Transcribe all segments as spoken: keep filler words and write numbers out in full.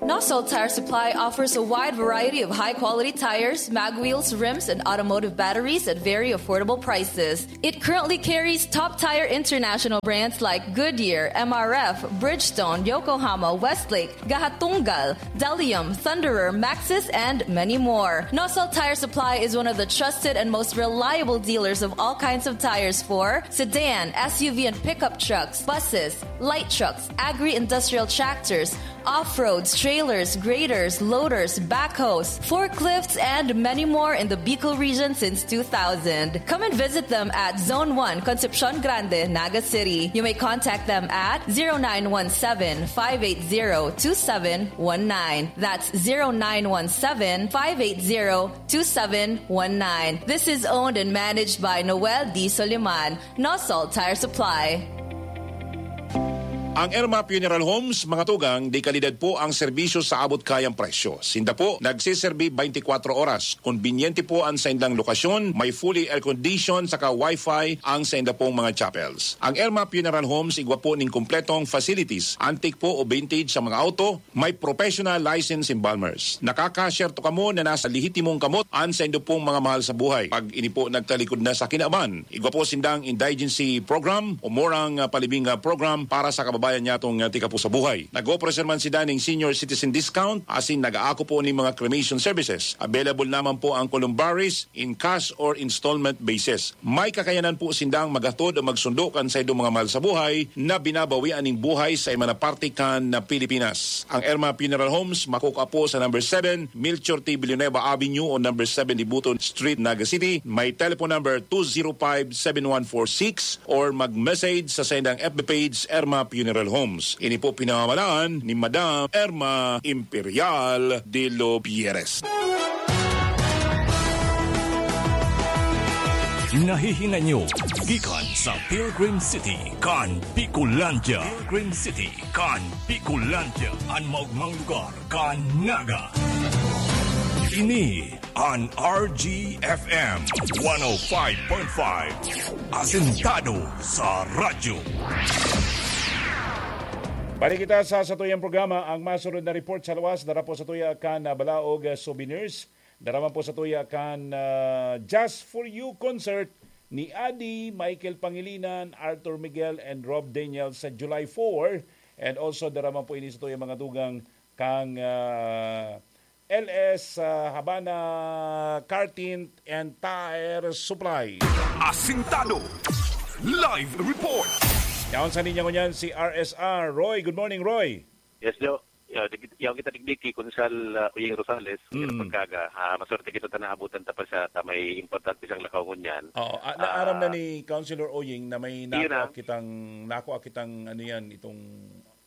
Nosol Tire Supply offers a wide variety of high-quality tires, mag wheels, rims, and automotive batteries at very affordable prices. It currently carries top tire international brands like Goodyear, M R F, Bridgestone, Yokohama, Westlake, Gahatunggal, Delium, Thunderer, Maxxis, and many more. Nosol Tire Supply is one of the trusted and most reliable dealers of all kinds of tires for sedan, S U V, and pickup trucks, buses, light trucks, agri-industrial tractors, off-roads, trailers, graders, loaders, backhoes, forklifts, and many more in the Bicol region since two thousand. Come and visit them at Zone one, Concepcion Grande, Naga City. You may contact them at zero nine one seven, five eight zero, two seven one nine. That's zero nine one seven, five eight zero, two seven one nine. This is owned and managed by Noel D. Soliman, Nosol Tire Supply. Ang Erma Funeral Homes, mga tugang, de kalidad po ang serbisyo sa abot kayang presyo. Sinda po nagsiserbi twenty-four oras. Konbinyente po ang saindang lokasyon, may fully air-conditioned saka wifi ang sainda pong mga chapels. Ang Erma Funeral Homes igwa po ning kompletong facilities, antique po o vintage sa mga auto, may professional license embalmers. Nakakasyerto kamo na nasa lehitimong kamot ang saindo pong mga mahal sa buhay. Pag ini po nagtalikod na sa kinaban, igwa po sindang indigency program o murang ah, palibing ah, program para sa kababayan nyatong ah, tika po sa buhay. Nag-opresar man sinda ning senior citizen discount asin nag-aako po ning mga cremation services. Available naman po ang columbaries in cash or installment basis. May kakayanan po sindang maghatod o magsundo kan saindong mga mahal sa buhay na binabawian ning buhay sa iba na parte kan na Pilipinas. Ang Erma Funeral Homes makukua po sa number seven Melchor T. Villanueva Avenue o number seven Dibuton Street, Naga City. May telephone number two zero five seven one four six or mag-message sa saindang F B page, Erma Funeral Homes. Ini po pinamamalaan ni Madam Erma Imperial de los Pierres. Nahihingan nyo gikan sa Pilgrim City kan Bicolandia. Pilgrim City kan Bicolandia, an maogmang lugar kan Naga. Ini an R G F M one oh five point five, asentado sa radyo. Balik kita sa satuyang programa, ang masunod na report sa luwas, dara po sa tuya kan ah, Balaog ah, Souvenirs. Dara man po sa tuya kan ah, Just For You concert ni Adi, Michael Pangilinan, Arthur Miguel, and Rob Daniel sa July four. And also, dara man po ini sa tuya mga dugang kang ah, L S ah, Habana Car Tint and Tire Supply. Asintado. Live report. Yaon sa linya ngunyan si R S R. Roy, good morning, Roy. Yes, Jo. Ya, di kit- yaw kita digdi ki Konsal ah, Uying Rosales, Mm. mm. Pagkaga, ah, maswerte kita ta naabutan ta pa siya ta may importante siyang lakaw ngunyan. Oo, ah, naaram na Ah. ni Councilor Oying na may Yun nakuha na. kitang nakuha kitang ano yan, itong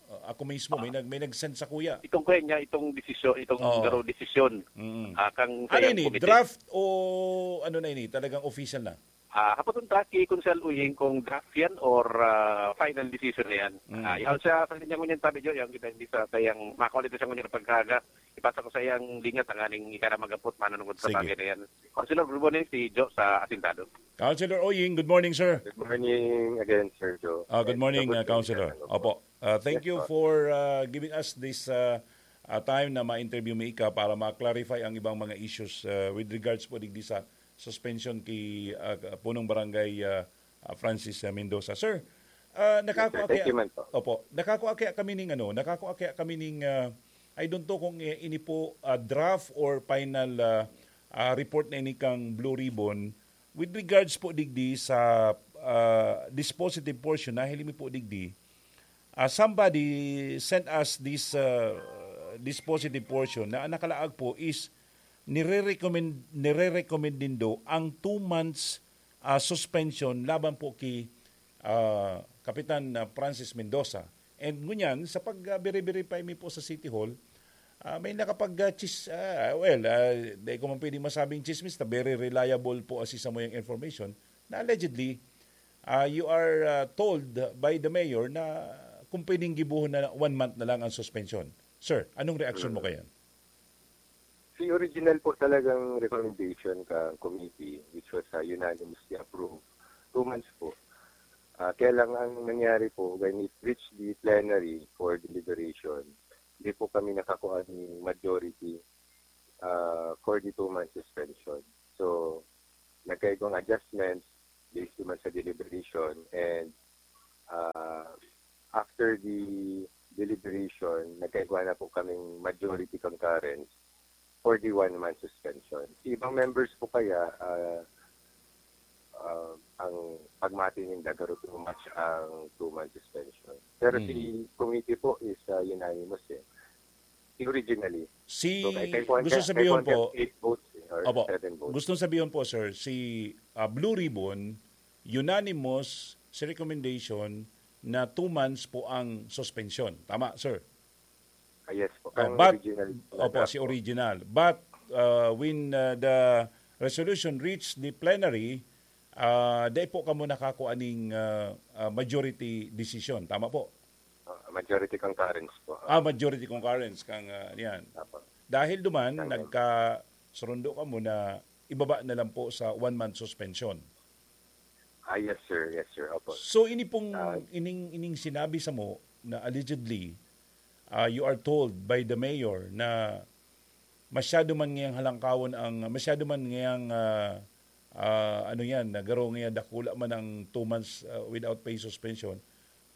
uh, ako mismo may nag may nag-send sa kuya. Itong kuya niya, itong desisyon, itong Oo. garo desisyon. Mm. Ah, kang Ano sayang ini? committee. Draft o ano na ini? Talagang official na? Ah, hapon ta ki Konsal Uying kung draft yan or ah, final decision na yan. Mm. Ah, yaw siya sa linya ngunyan tabi, Jo, yaw kita hindi sa tayang makulit sa ngunyan Pagkaga. Ipasa ko sa iyang linya tanganing ika na magapot manunungod sa Sige. Bagay na yan. Councilor, good morning, si Jo sa Asintado. Councilor Oying, good morning, sir. Good morning again, Sir Joe. Ah, good And morning, good uh, Councilor. morning, Opo. Uh, thank Yes, you po. for uh, giving us this uh, uh, time na ma-interview mi ika para ma-clarify ang ibang mga issues uh, with regards po digdi sa suspension ki uh, punong barangay uh, uh, Francis uh, Mendoza. Sir, uh, nakako Yes, sir. Thank you, man, po. Opo, nakako kami ning ano, nakako kami ning uh, I don't know kung i- ini po uh, draft or final uh, uh, report na ini kang Blue Ribbon with regards po digdi sa uh, dispositive portion na hilimi po digdi. Uh, somebody sent us this uh, dispositive portion na ang nakalaag po is nire-recommend nire-recommend nindo ang two months uh, suspension laban po ki uh, Kapitan uh, Francis Mendoza. And ngunyan, sa pag-verify mi po sa City Hall, uh, may nakapag uh, chis, uh, well, uh, dahil ko man pwedeng masabing chismis na very reliable po asi sa muyang information na allegedly uh, you are uh, told by the mayor na kung pwedeng gibuhon na one month na lang ang suspension. Sir, anong reaction mo kayan? Si original po talagang recommendation ka committee, which was uh, unanimously approved, two months po. Uh, kaya lang ang nangyari po, when it reached the plenary for deliberation, di po kami nakakuha ni majority, ah, for the two-month suspension. So, nagkaigwang adjustments based naman sa deliberation, and, ah, after the deliberation, nagkaigwa na po kaming majority concurrence for the one-month suspension. Si ibang members po kaya, ah, ah, ang pagmati ninda, garo too much ang two-month suspension. Pero si Mm. committee po is, ah, unanimous eh. Si originally. Si, So, kay, kay Juan gusto Ca-, sabihin kay Juan po, Ca-, eight votes eh, or Opo. seven votes. Gusto sabihin po, sir, si, ah, Blue Ribbon, unanimous sa recommendation na two months po ang suspension. Tama, sir? Ah, yes po. Oh, Ang but, original opo, talaga si po. original. But, uh, when, uh, the resolution reached the plenary, uh, dai po kamo nakakua ning, uh, uh, majority decision. Tama po? Ah, majority concurrence po. Ah, majority concurrence kang, uh, yan. Apo. Dahil duman, Tama. nagkasurundo kamo na ibaba na lang po sa one-month suspension. Ah, yes, sir. Yes, sir. Opo. So, ini pong, Ah. ining, ining sinabi sa mo na allegedly, ah, you are told by the mayor na masyado man ngayang halangkawon ang, masyado man ngayang, ah, ah, ano yan, nagaro ngayon, dakula man ang two months, ah, without pay suspension,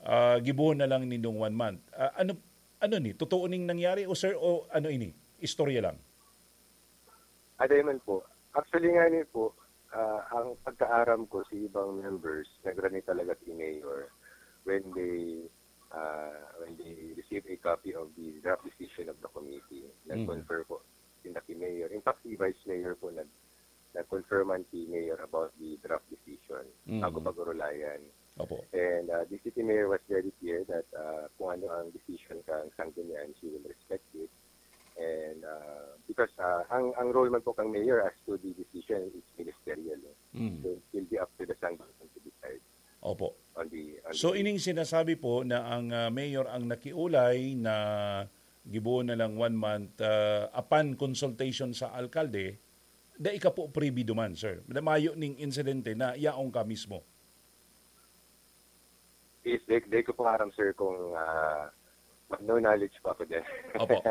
ah, gibohon na lang nindong one month. Ah, ano, ano ni? Totoo ning nangyari o, sir, o ano ini? Istorya lang? Aday man po. Actually nga ni po, ah, ang pagkaaram ko si ibang members, nagrani talaga si Mayor when they, ah, when they receive a copy of the draft decision of the committee. Mhm. Nag-confer po sila ki Mayor. In fact, si Vice Mayor po nag-, nag-confirm man si Mayor about the draft decision Mhm. bago pag-urulayan. Opo. And, ah, the city mayor was very clear that, ah, kung ano ang decision kang Sanggunian, she will respect it. And, ah, because, ah, ang, ang role man po kang mayor as to the decision is ministerial, eh. Mm. So, it will be up to the Sanggunian to decide Opo. on the, on So, the ining sinasabi po na ang, ah, mayor ang nakiulay na gibohon na lang one month, ah, upon consultation sa alkalde, dai ka po privy duman, sir. Na mayo ning insidente na yaon ka mismo. Is, di, di ko po aram, sir, kung, ah, no knowledge po ako dyan. Opo.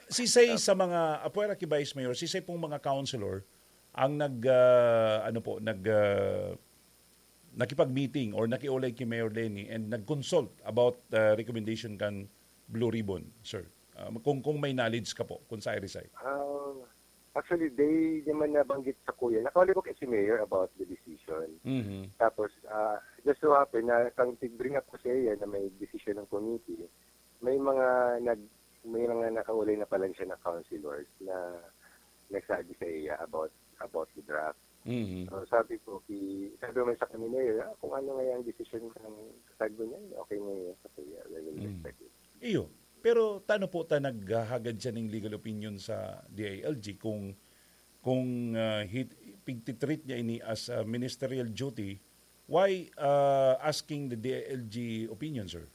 Sisay Opo. sa mga, apwera ki Vice Mayor, sisay pong mga councilor ang nag, ah, ano po, nag, ah, nakipag-meeting or nakiulay ki Mayor Leni and nag-consult about, ah, recommendation kan Blue Ribbon, sir? Ah, kung, kung may knowledge ka po, kung sa Irisay. Ah, actually, they naman nabanggit sa kuya. Nakaulay ko kay si Mayor about the decision. Mhm. Tapos, ah, just so happen na kang tig-bring up ko sa iya na may decision ng committee, may mga nag-, may mga nakaulay na pala siya na councilors na nagsabi sa iya about, about the draft. Mhm. So, sabi ko, ki-, sabi naman sa kami, "Mayor, ah, kung ano nga yung decision ng Sanggunian, okay na yun sa kuya. We will Mm. respect it." Iyo. Pero tano po ta naghahagad siya ning legal opinion sa D I L G kung, kung, ah, hit-, pigtitreat niya ini as a ministerial duty, why, ah, asking the D I L G opinion, sir?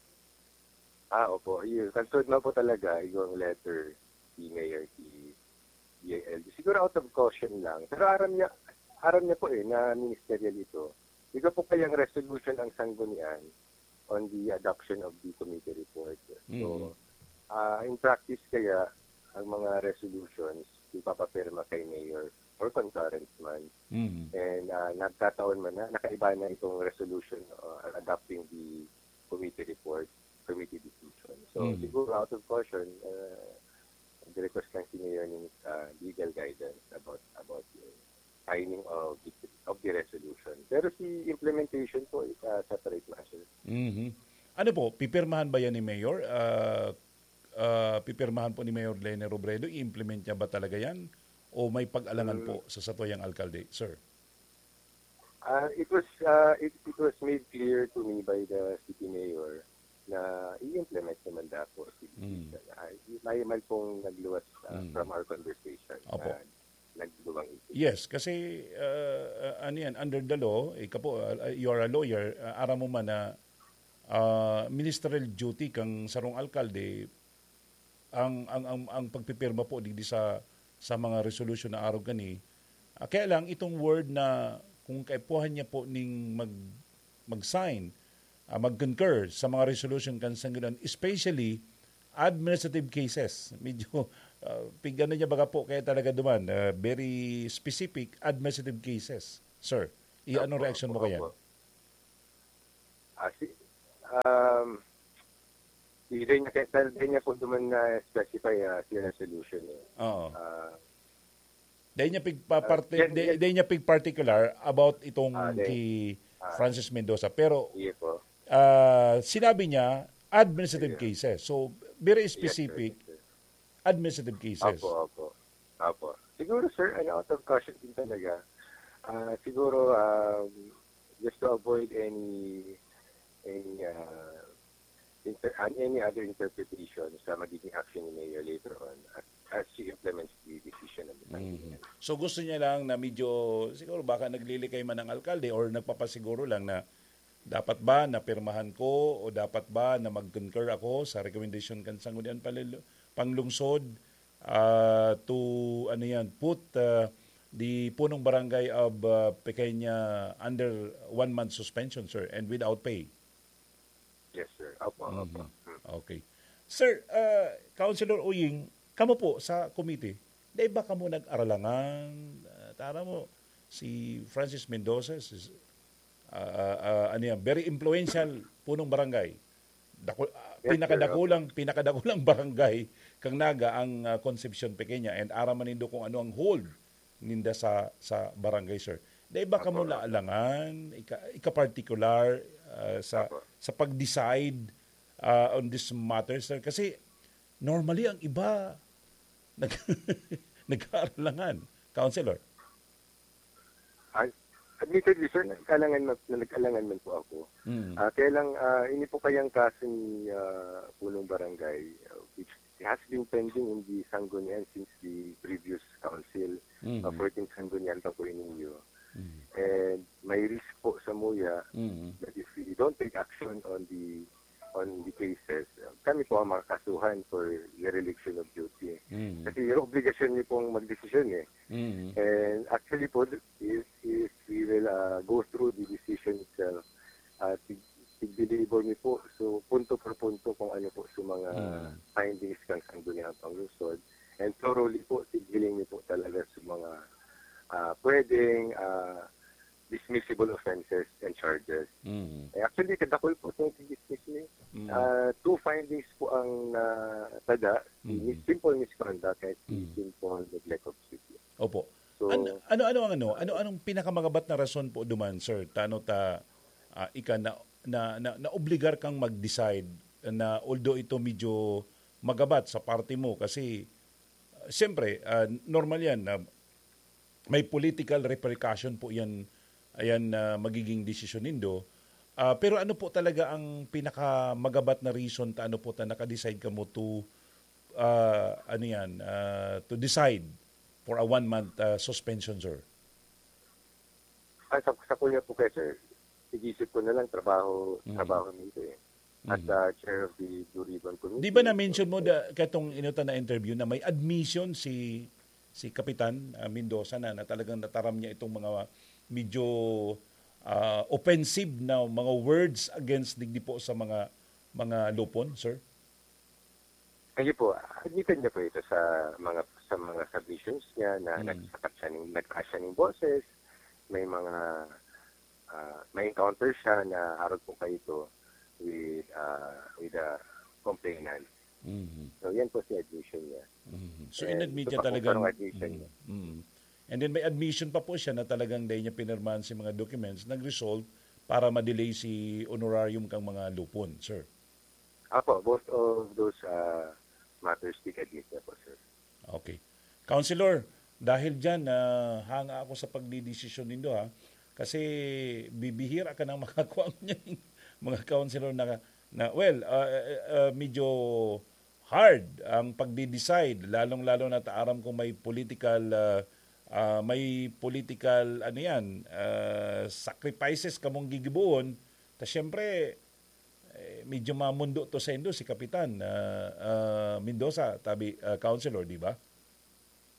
Ah, opo. Yun. Concerned man po talaga yung letter ni Mayor si D I L G. Siguro out of caution lang. Pero aram niya, aram niya po eh, na ministerial ito. Iba po kayang resolution ang Sanggunian on the adoption of the committee report. So, Mm. ah, in practice kaya, ang mga resolutions, ipapapirma kay Mayor or concurrent man. Mm. And, ah, nagkataon man na nakaiba na itong resolution, uh, adopting the committee report, committee decision. So, Mm. siguro out of caution, uh, nag-request lang si Mayor ng, uh, legal guidance about, about the signing of the, of the resolution. Pero si implementation po is a separate matter. Mhm. Ano po, pipirmahan ba yan ni Mayor? Ah, ah, pipirmahan po ni Mayor Leni Robredo, i-implement niya ba talaga yan? O may pag-alangan Mm. po sa satuyang alkalde, sir? Ah, it was, ah, it, it was made clear to me by the city mayor na i-implement naman daw po si Mm. Ay, may man pong nagluwas, ah, Mm. from our conversation Opo. na nagduwang issue. Yes, kasi, ah, ah, ano yan, under the law, ika po, ah, you are a lawyer, ah, aram mo man na, ah, ministerial duty kang sarong alkalde, ang, ang, ang, ang pagpipirma po digdi sa, sa mga resolution na arog kani, ah, kaya lang itong word na kung kaipuhan niya po ning mag-, mag-sign, ah, mag-concur sa mga resolution kan Sanggunian, especially administrative cases. Medyo, ah, pig-ano niya baga po kaya talaga duman, ah, very specific administrative cases. Sir, i-, anong Opo, reaksyon mo opo, kaya? opo. Ah, si, um, hindi niya, kaya dahil di niya po duman na-specify, ah, si resolution eh. Oo. Ah, Dahil niya pigpaparte-, Ah, yan, dahil, yan. dahil niya pigpartikular about itong Ah, dahil, kay ah, Francis Mendoza. Pero, Iye po. ah, sinabi niya, administrative Iye. cases. So, very Yes, sir. specific, Yes, sir. administrative cases. Opo, opo. Opo. Siguro, sir, ano, out of caution din talaga. Ah, siguro, um, just to avoid any, any, ah, inter-, an-, any other interpretation sa magiging action ni Mayor later on as, as she implements the decision of the Mhm. Panginoon. So, gusto niya lang na medyo, siguro baka naglilikay man ang alkalde or nagpapasiguro lang na dapat ba na pirmahan ko o dapat ba na mag-concur ako sa recommendation kan Sangguniang Panlilo-, Panglungsod, ah, to, ano yan, put, ah, the punong barangay of, ah, Pequeña under one month suspension, sir, and without pay? Yes, sir. Opo, opo. Mhm. Mm. Okay. Sir, ah, Councilor Uying, kamo po sa komite, dai ba kamo nag-aralangan? Ah, tara mo, si Francis Mendoza, si, ah, ah, ah, ano yan, very influential punong barangay. Dako-, ah, Yes, sir. pinakadakulang, Opo. pinakadakulang barangay kang Naga ang, ah, Concepcion Pequeña, and aram man nindo kung ano ang hold ninda sa, sa barangay, sir. Dai ba kamo Opo, opo. naalangan, ika-, ika-partikular, ah, sa, Opo. sa pag-decide, ah, on this matter, sir? Kasi normally, ang iba, nag-, nag-aaralangan. Councilor? Ah, admittedly, sir, nag-alangan man, nag-alangan man po ako. Mm. Ah, kaya lang, ah, ini po kayang kaso ni, ah, Punong Barangay, ah, which has been pending in the Sanggunian since the previous council, Mhm. uh, fourteenth Sanggunian pa po ininyo. Mhm. And may risk po sa MOYA Mhm. that if we don't take action on the, on the cases, uh, kami po ang makakasuhan for dereliction of duty. Mhm. Kasi obligasyon niyo pong magdesisyon eh. Mhm. And actually po, if, if we will, uh, go through the decision itself, uh, tig-, tig-deliver mi po. So, punto por punto kung ano po sa mga Mm. findings kan Sangguniang Panglungsod. And thoroughly po, tighiling mi po talaga sa mga, ah, pwedeng, ah, dismissible offenses and charges. Mm. Eh, actually, kadakul po itong dismiss mi. Mm. Ah, two findings po ang natada, si Mm. mis-, simple misconduct at si Mm. simple neglect of duty. Opo. So, An-, ano, ano ang ano? Ano, anong pinakamagabat na rason po duman, sir? Tano ta, ah, ika na, na, na, naobligar kang mag-decide na although ito medyo magabat sa parte mo kasi, ah, siyempre, ah, normal yan na may political repercussion po yan, ayan na magiging desisyon nindo. Ah, pero ano po talaga ang pinakamagabat na reason ta ano po ta naka-decide kamo to, ah, ano yan, ah, to decide for a one-month, ah, suspension, sir? Ah, sa, sa kuya po kayo, sir, igisip ko na lang trabaho, Mm. trabaho nito eh. As Mhm. a chair of the Blue Ribbon Committee. Di ba na-mention mo da, katong inutan na interview na may admission si, si Kapitan, ah, Mendoza na, na talagang nataram niya itong mga medyo, ah, offensive na mga words against digdi po sa mga, mga lupon, sir? Ayun po, admitted niya po ito sa mga, sa mga submissions niya na Hmm. nagsasakat siya ng, nagtaas siya ng boses, may mga, ah, may encounter siya na harap po kayo ito with, ah, with a complainant. Mhm. So, yan po si admission niya. Mhm. So, And inadmit ito niya pa po talagang, parang admission mm, niya. mm. And then may admission pa po siya na talagang dahil niya pinirmahan si mga documents, nag-result para ma-delay si honorarium kang mga lupon, sir. Apo, both of those, ah, matters, tig-admit niya po, sir. Okay. Councilor, dahil dyan, ah, hanga ako sa pagdidesisyon nindo, ha? Kasi bibihira ka nang makakuha niyan, mga councilor na, na, well, ah, ah, ah, medyo hard ang pagdi-decide, lalong-lalo na ta aram kung may political, ah, ah, may political, ano yan, ah, sacrifices kamong gigiboon. Ta siyempre, eh, medyo mamundo to saindo si Kapitan, ah, ah, Mendoza, tabi, ah, Councilor, di ba?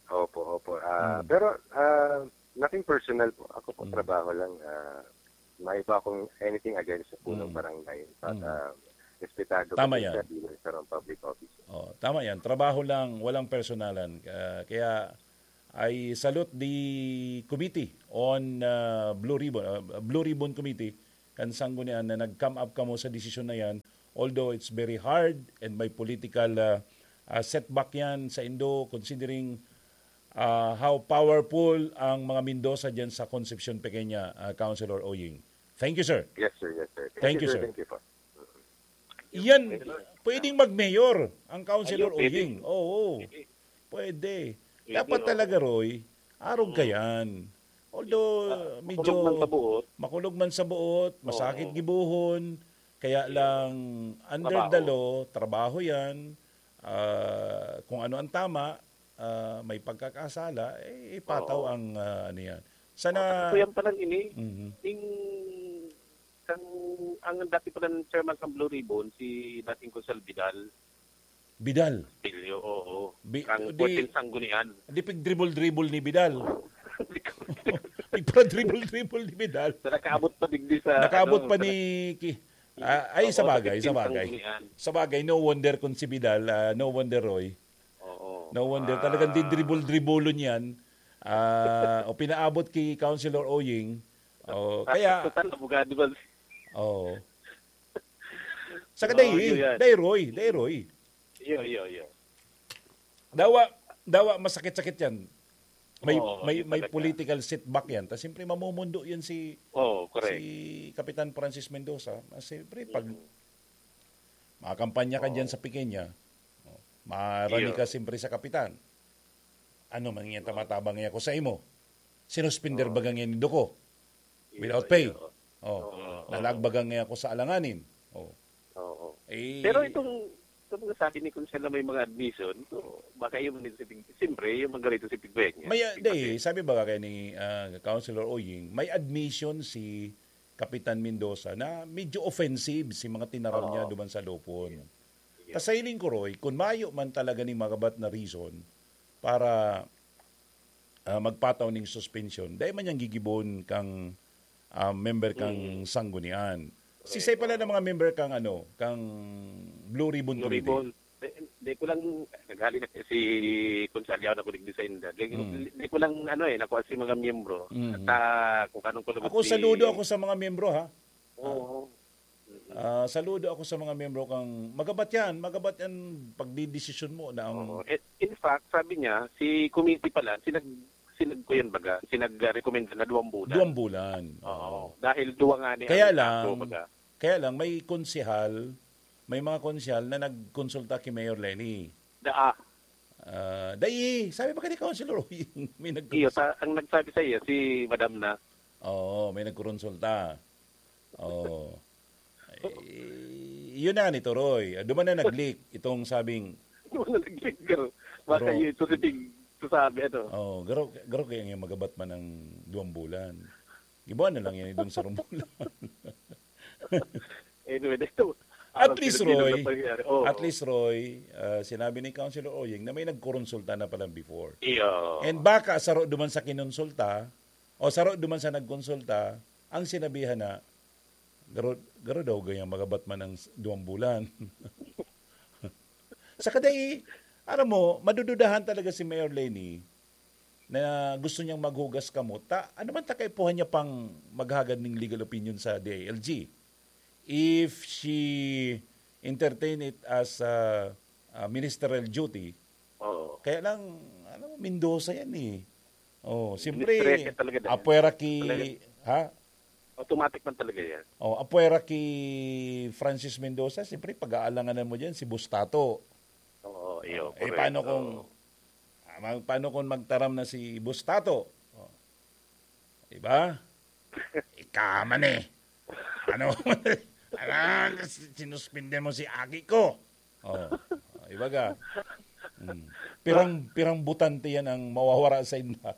Opo, opo. Ah, Mm. Pero, ah, nothing personal po. Ako po, Mm. trabaho lang. Ah, may iba akong anything against sa punong Mm. barangay. But, Mm. ah, Respetado Tama ka din yan. Sa bilang isang public officer. Oh, tama yan. Trabaho lang, walang personalan. Ah, kaya I salute the committee on, ah, Blue Ribbon, ah, Blue Ribbon Committee, kan Sanggunian na nag-come up kamo sa desisyon na yan. Although it's very hard and may political, ah, ah, setback yan sa Indo, considering, ah, how powerful ang mga Mendoza dyan sa Concepcion Pequeña, ah, Councilor Oying. Thank you, sir. Yes, sir. Yes, sir. Thank Thank you, you, sir. Thank you po. Yan, Pwede ba? Pwedeng mag-mayor ang Councilor Ayun, pwede. Oying. Oo, Pwede. pwede. Pwede, Dapat oo. talaga, Roy, arog ka Mm. yan. Although, Ah, medyo makulog man sa buot. makulog man sa buot, masakit Oo. gibuhon, kaya Yeah. lang, under Trabaho. the law, trabaho yan. Ah, kung ano ang tama, ah, may pagkakasala, eh, ipataw Oo. ang, ah, ano yan. Sana At kuya pa lang ini, Mhm. ning, ang, ang dati pa ng chairman ng Blue Ribbon, si dating Konsehal Vidal. Vidal? Castillo, oo. Bi-, Ang di, puwerteng sanggunian. di pigdribol-dribol ni Vidal. Pigpradribol-dribol ni Vidal. Sa nakaabot pa digdi sa, Nakaabot ano, pa sa ni Ki-, ah, ay, Oo, sa sa bagay, sa puwerteng bagay. sanggunian. Sa bagay, no wonder kung si Vidal, ah, no wonder, Roy. Oo. No wonder, Ah. talagang didribol-dribolon yan. Ah, o pinaabot kay Councilor Oying. Oh, Ah, kaya total, abogado ba? Oo. Saka Oo, dai, yun yan. dai Roy, dai Roy. Iyo, iyo, iyo. Dawa, dawa masakit-sakit yan. May, Oo, may, yun may talaga. political setback yan. Tas siyempre, mamumundo yan si, Oo, correct. si Kapitan Francis Mendoza. Ah, siyempre, pag Mm. makakampanya ka dyan Oo. sa Pequeña, oh, marani Iyo. ka siyempre sa Kapitan. Ano man yan, Oo. tamatabang niya ako sa imo? Sinuspender Oo. baga niya ni Duko? Iyo, Without pay? iyo. Oh. Oo, oo. Nalagbagan niya ako sa alanganin? Oh. Oo. Eh, Pero itong, itong mga sabi ni Konsehal na may mga admission, ito, baka yun man ito si Pig-, siyempre, yung mga ganito si Pigbeña. May, ah, Pigbeña. di, sabi ba kaya ni, ah, Councilor Oying, may admission si Kapitan Mendoza na medyo offensive si mga tinaram niya Oo. duman sa Lupon. Yeah. Yeah. Ta sa hiling ko, Roy, kung mayo man talaga ni magabat na reason para, ah, magpataw ning suspension, dai man niyang gigibon kang, ah, member kang Mm. sanggunian. Correct. Sisay pala ng mga member kang, ano, kang Blue Ribbon Blue Committee? Ribbon. Di, di ko lang, naghali na si Konsehal Yaw na kulig sa inda. Di, Mm. di ko lang, ano eh, nakuha si mga miyembro. Mm. At, ah, kung anong kulubot Ako, si saludo ako sa mga miyembro, ha? Oo. Mm. Ah, saludo ako sa mga miyembro kang, magabat yan, magabat yan pagdidesisyon mo na ang Oo. Eh, in fact, sabi niya, si committee pala, sinag-, sinag-, ko yun baga, sinag-recommend na duwang bulan. Duwang bulan. Oo. Oo. Dahil duwa nga ni Kaya ang lang, ako, baga. kaya lang, may konsehal, may mga konsehal na nagkonsulta kay Mayor Leni. Daa. Ah, dai, sabi ba ka ni Councilor Oying, may nagkonsulta? Iyo, sa, ang nagsabi sa iyo, si Madam na. Oo, may nagkonsulta. Oo. Eh, yun na nga ni Toroy. Ah, duman na nag-leak itong sabing Duman na nag-leak, pero baka Pero yun, ito si Tig, sasabi, ano. Oh, garo, garo kaya nga magabat man ang duwang bulan. Ibuan na lang yan, itong sarong bulan. Anyway, dito. At Parang least, Pilipino Roy, na pangyayari. Oo. at least, Roy, ah, sinabi ni Councilor Oying na may nagkoronsulta na pala before. Iyo. And baka saro duman sa kinonsulta, o saro duman sa nagkonsulta, ang sinabihan na, "Garo, garo daw gayang magabat man ang s-, duwang bulan." Saka dai, alam mo, madududahan talaga si Mayor Leni na gusto niyang maghugas kamot. Ta, ano man ta kaipuhan niya pang maghagad ning legal opinion sa D I L G? If she entertain it as a, a ministerial duty, Oo. kaya lang, ano, Mendoza yan eh. Oh, siyempre, Ministerial talaga din. apwera ki, Talaga. ha? Automatic man talaga yan. Oh, apwera ki Francis Mendoza, siyempre, pag-aalanganan mo dyan, si Bustato. Oo, iyo, Eh, correct. paano kung, Oo. ah, ma-, paano kung magtaram na si Bustato? Oh. Diba? Ika man eh. Ano? Alang, sinuspinde mo si aki ko. Oh. Oh, ibaga. Mm. Pirang, pirang butante yan ang mawawara sa inda.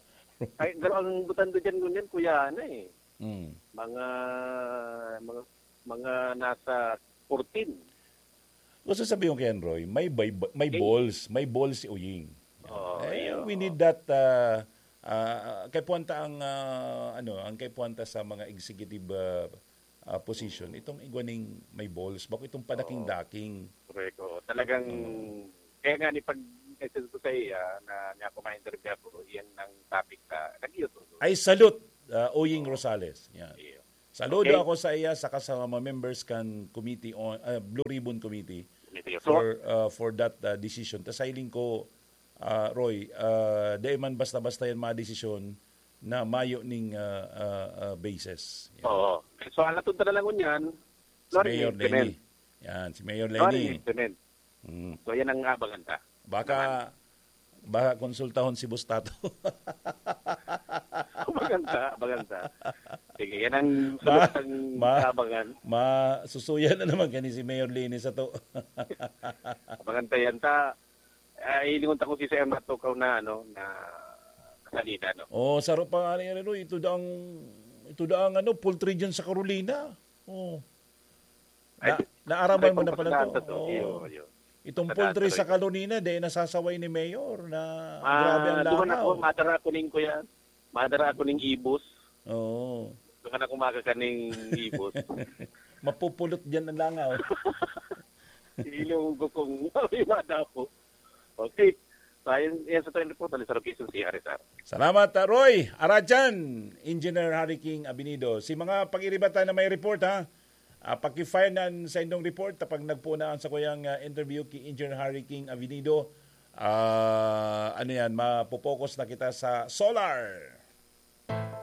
Ay, pero ang butante dyan ngunyan, kuya, ano eh. Mm. Mga, mga, mga nasa fourteen. Gusto sabihin ko yan, Roy, may, bay-, may Eh. balls, may balls si Uying. Oo, Eh, iyo. we need that, ah, ah, kay puwanta ang, ah, ano, ang kay puwanta sa mga executive, ah, ah, position, itong igwa ning may balls, bako itong padaking-daking. Correct, oo. Talagang, kaya nga ni pag-message ko sa iya na niya ako ma-interview ako, iyan ang topic na nag-iyo to. I salute, uh, Oying Rosales. Yan. Iyo. Saludo Okay. ako sa iya saka sa mga members kan committee on, ah, Blue Ribbon Committee Committee. So, for uh, for that uh, decision. Tas hiling ko, uh, Roy, uh, di man basta-basta yan mga desisyon na mayo ning uh, uh, uh, basis. Yan. Oo. So, ang natod na lang ngunyan, Si Mayor Leni. Yan, si Mayor Leni. Implement. Mm. So, yan ang abangan ta. Baka baka konsultahon si Boss Tato. Abangan ta, abangan ta. Sige, yan ang Ma- sunod ang ma- abangan. Masusuyan na naman kani si Mayor Leni sa to. Abangan ta yan ta. Ay, lingon ta kung si Sir Matukaw na, ano, na salida, no? Oh, saro pa nga ni Roy, ito daang ito daang ano, poultry diyan sa Carolina. Oh. Na, Ay, naaraman mo na pala rekompensahan to. ta to. Oo. Iyo, iyo. Itong Sa poultry Dr. sa Carolina, di nasasaway ni Mayor na Ah, grabe ang duman ako, langaw. Madara ako ning kuya. Madara ako ning ibos. Oo. Duman ako makakaning ibos. Mapupulot diyan ang langaw. Ilong ko kung madapo. Okay. So, ayan, yan sa trend report, Alisaro Quezon, C R S R. Salamat, uh, Roy Arajan, Engineer Harry King Abinido. Si mga pag-iribatan na may report, ha? Uh, paki-file nan sa indong report kapag nagpuunaan sa kuyang uh, interview ki Engineer Harry King Abinido. Uh, ano yan, mapopokus na kita sa solar.